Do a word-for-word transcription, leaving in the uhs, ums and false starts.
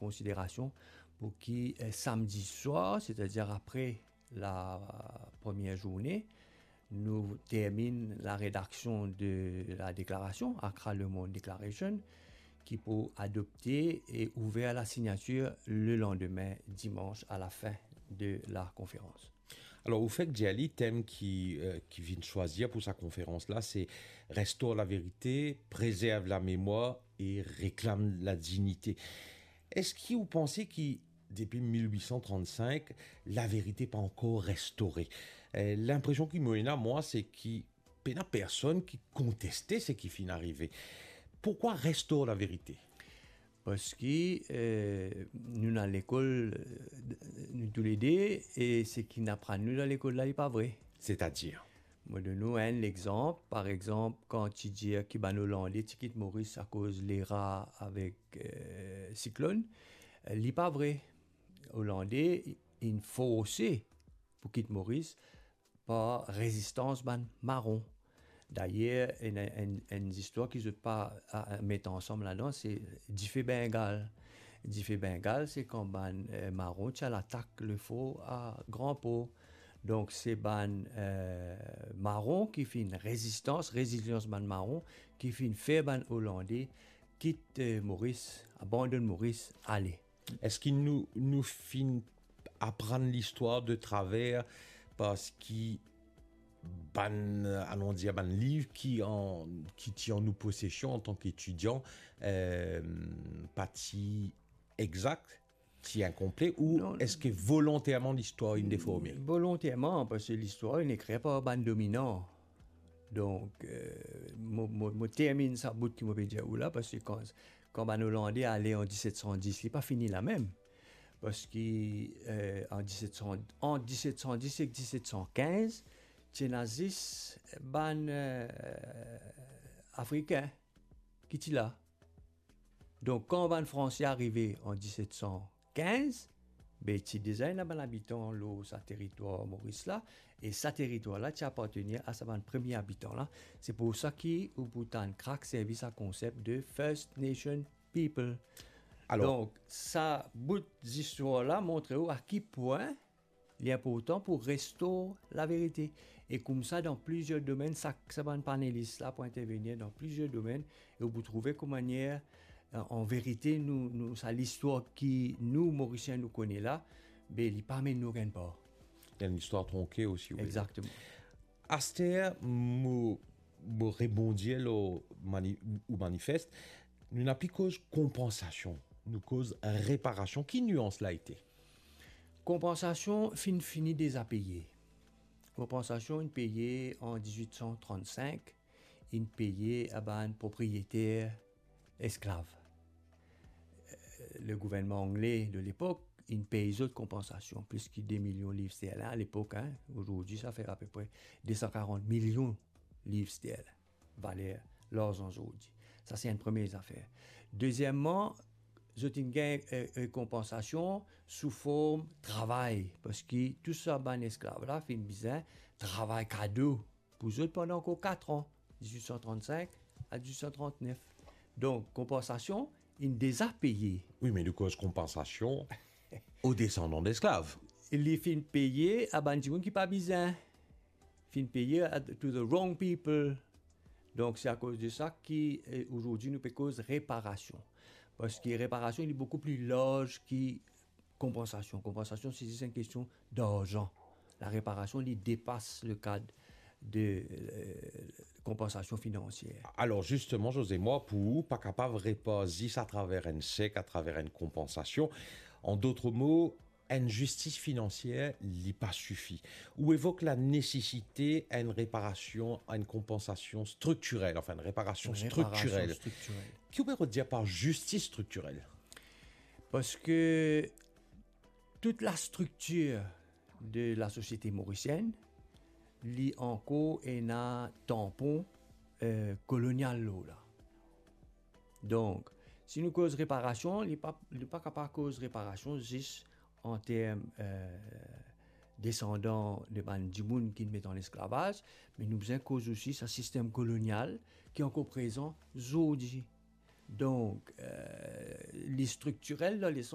konsiderasion pou ki, eh, samdi swar, setadir apre la premie zourne, nou terminn la redaksion de la deklarasion, Accra Le Monde Declaration, ki pou adopte e ouver a la signatir le landime, dimans, a la fin de la konferans. Alor, ou fek dir li, tem ki, eh, ki vinn swazir pou sa konferans la, se Restaure la vérité, préserve la mémoire et réclame la dignité. Eski ou panse ki depi mil wit san trannsink, laverite pa ankor restore? Eh, linpresion ki mo ena, mwa, se ki pena personn ki konteste seki finn arive. Pourkwa restore laverite? Parski, eh, nou dan lekol, eh, nou toulede, e seki aprann nou dan lekol la, li pa vre. Setadir? Mo donn ou enn lexanp. Par exanp, kan ti dir ki bann Olande ti kit Moris akoz lera avek, eh, siklonn, eh, li pa vre. Olande inn forse pou kit Moris par rezistans bann maron. Dayer, enn, enn, enn zistwar ki zot pa, a, a, met ansam ladan, se dife Bengal. Dife Bengal, se kan bann, eh, maron ti al atak lefor a Gran Por. Donk, se bann, eh, maron ki finn rezistans, rezilians bann maron, ki finn fer bann Olande kit, eh, Moris, abandonn Moris, ale. Eski nou, nou finn aprann listwar de traver parski bann, anon dir, bann liv ki an, ki ti an nou posesion antan ki etidian, eh, pa ti exak, ti inkonple, ou Non. eski volonterman listwar inn deforme? Volonterman, parski listwar inn ekrir par bann dominan. Donk, eh, mo, mo, mo terminn sa bout ki mo pe dir ou la, parski kan, kan bann Olande ale an diset san dis, li pa fini la mem. Parski, eh, an diset san, ant diset san dis ek diset san kinz, ti ena zis bann, eh, Afrikin ki ti la. Donk, kan bann Franse arive an diset san kinz, be, ti deza ena bann abitan lor sa teritwar Moris la, e sa teritwar la ti apartenir a sa bann premie abitan la. Se pou sa ki ou pou tann Krak servi sa konsep de First Nation People. Alor Donk, sa bout zistwar la montre ou a ki pwin li inportan pou restore laverite. E koumsa, dan plizier domenn, sa, sa bann panelis la pou intervenir dan plizier domenn, e ou pou trouve kouma manier, eh, an verite, nou, nou, sa listwar ki nou, Morisien, nou kone la, be, li pa amenn nou okenn par. Li enn listwar tronke osi, wi. Exakteman. Aster, mo, mo rebondir lor mani-, ou manifest, nou napa koz konpansasion, nou koz reparasion. Ki nians la ete? Konpansasion finn fini deza peye. Konpansasion inn peye an diz-wit san trann-sink, inn peye a bann propriyeter esklav. Eh, le gouvernman angle de lepok inn pey zot konpansasion, plis ki de milion liv sterlin alepok, hein. Azordi, sa fer apepre de san karant milion liv sterlin, valer larzan zordi. Sa, se enn premie zafer. Dezieman, zot inn gagn, eh, eh, konpansasion sou form travay, parski tou sa bann esklav la finn bizin travay kado pou zot pandan ankor kat an, diz-wit san trann-sink a diz-wit san trant-nef. Donk, konpansasion inn deza peye. Wi, me nou koz konpansasion o desandan desklav. Li finn peye a bann dimoun ki pa bizin. Finn peye a, to the wrong people. Donk, se akoz de sa ki, eh, azordi nou pe koz reparasion. Parski reparasion, li boukou pli larz ki konpansasion. Konpansasion, se zis enn kestion darzan. Lareparasion, li depas le kad de, eh, konpansasion finansier. Alor, zisteman, José, mwa, pou ou, pa kapav repar zis atraver enn sek, atraver enn konpansasion. An dot mo, enn zistis finansier, li pa sifi. Ou evok lanesesite enn reparasion, enn konpansasion striktirel, anfin, enn reparasion striktirel. Reparasion striktirel. Ki ou pe dir par zistis striktirel? Parski tout lastriktir de lasosiete morisienn, li ankor ena tanpon, eh, kolonial lor la. Donk, si nou koz reparasion, li pa, li pa kapav koz reparasion zis an term, eh, desandan de bann dimoun ki met an lesklavaz, me nou bizin koz osi sa sistem kolonial ki ankor prezan zordi. Donk, euh, li striktirel dan leson